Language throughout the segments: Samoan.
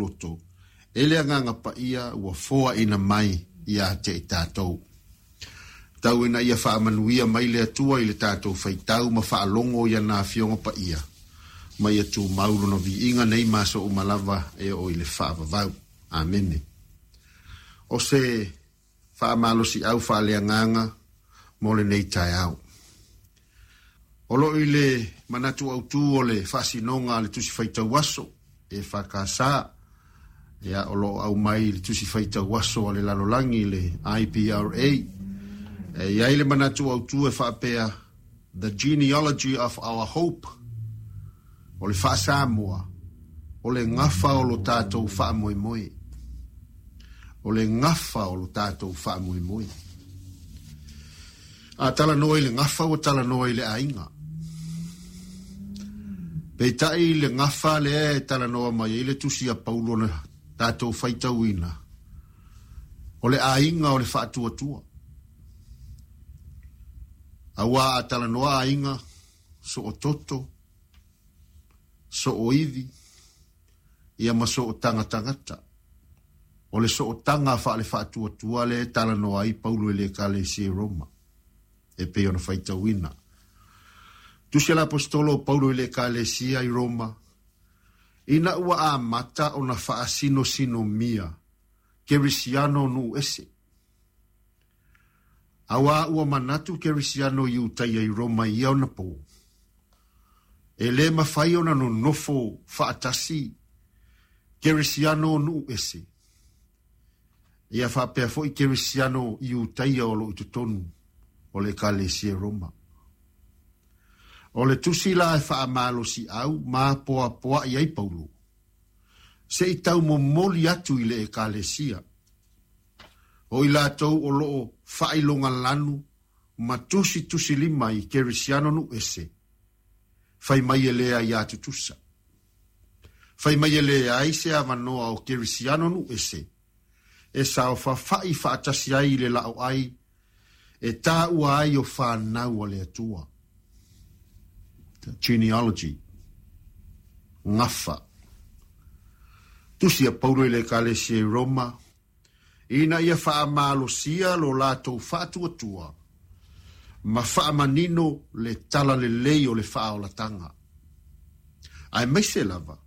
loto e le Agaga Paia ua foaina mai ia te i tatou. Tau ina ia faamanuia mai le Atua i le tatou faitau ma faalogo i ana Afioga Paia, ma ia tumau lona viiga nei ma aso uma lava e oo i le faavavau. Amene. O se faamalosiau faaleagaga mo lenei taeao. O loo i le manatu autu o le faasinoga a le Tusi Faitau Aso EFKS, ia, o loo aumai i le Tusi Faitau Aso a le Lalolagi, le IPRA, e i ai le manatu autu e faapea, "The Genealogy of Our Hope", o le faa-Samoa, o le gafa o lo tatou faamoemoe. O le gafa o lo tatou faamoemoe. A talanoa i le gafa, ua talanoa i le aiga. Peitai le gafa lea e talanoa mai ai le tusi a Paulo na tatou faitauina, o le aiga o le faatuatua. Aua a talanoa aiga, soototo, sooivi, ia ma sootagatagata. O le sootaga faale faatuatua lea e talanoa ai Paulo i le Ekalesia i Roma, e pei ona faitauina. Tusi a le Aposetolo o Paulo i le Ekalesia i Roma, ina ua amata ona faasinosinomia Kerisiano o nuu ese. Aua ua manatu Kerisiano Iutaia i Roma i ia ona pō, e lē mafai ona nonofo faatasi Kerisiano o nuu ese, ia faapea foi Kerisiano Iutaia o loo i totonu o le Ekalesia i Roma. O le tusi la e faamalosiau ma poapoa'i ai Paulo, se i taumomoli atu i le Ekalesia, o i latou o loo faailogalanu ma tusitusilima i Kerisiano nuu ese, fai mai e le aiā tutusa. Fai mai e leai se avanoa o Kerisiano nuu ese e saofafai faatasi ai i le laoai e taua ai o fanau a le Atua. Genealogy. Gafa. Tusi a Paulo i le Ekalesia i Roma, ina ia faamalosia lo latou faatuatua ma faamanino le talalelei o le faaolataga. Aemaise lava,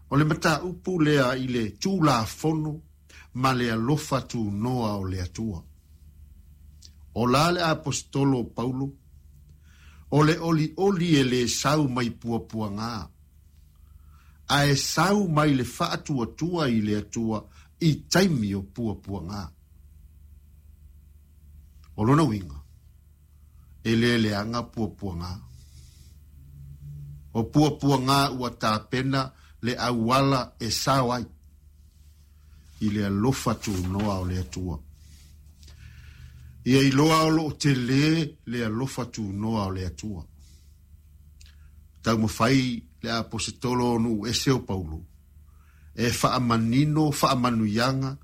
o le mataupu lea i le Tulafono ma le alofa tunoa o le Atua. O la le Aposetolo o Paulo, o le olioli e lē sau mai puapuaga, ae sau mai le faatuatua i le Atua i taimi o puapuaga. O lona uiga, e lē leaga puapuaga. O puapuaga ua tapena le auala e sao ai i le alofa tunoa o le Atua. Ia iloa o loo telē le alofa tunoa o le Atua. Taumafai le Aposetolo o nuu ese o Paulo e faamanino faamanuiaga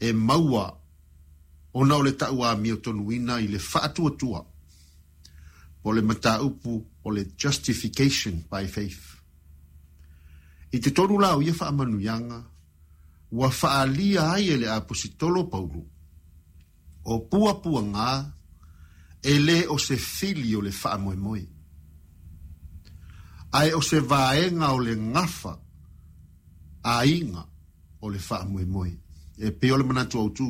e maua ona o le tauamiotonuina i le faatuatua, po o le mataupu o le justification by faith. I totonu la o ia faamanuiaga ua faaalia ai e le Aposetolo Paulo, o puapuaga e lē o se fili o le faamoemoe, ae o se vaega o le gafa aiga o le faamoemoe. E pei o le manatu autu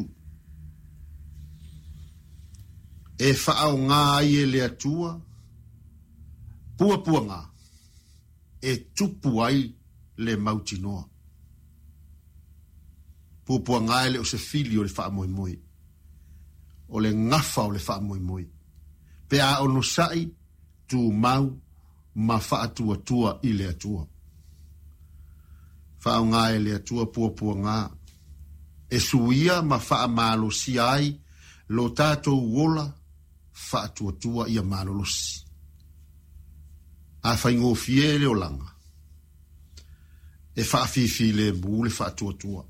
e faaogā ai e le Atua puapuaga e tupu ai le mautinoa. Puapuaga e le o se fili o le faamoemoe, o le gafa o le faamoemoe, pe a onosa'i, tumau ma faatuatua i le Atua. Faaaogā e le Atua puapuaga e suia ma faamalosia ai lo tatou ola faatuatua ia malolosi. A faigofie le olaga, e faafifilemu le faatuatua.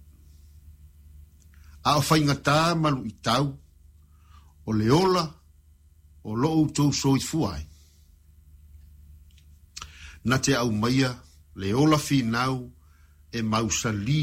A o faigatā ma luitau o le ola o lo outou soifua ai, na te aumaia le ola finau e mausalī.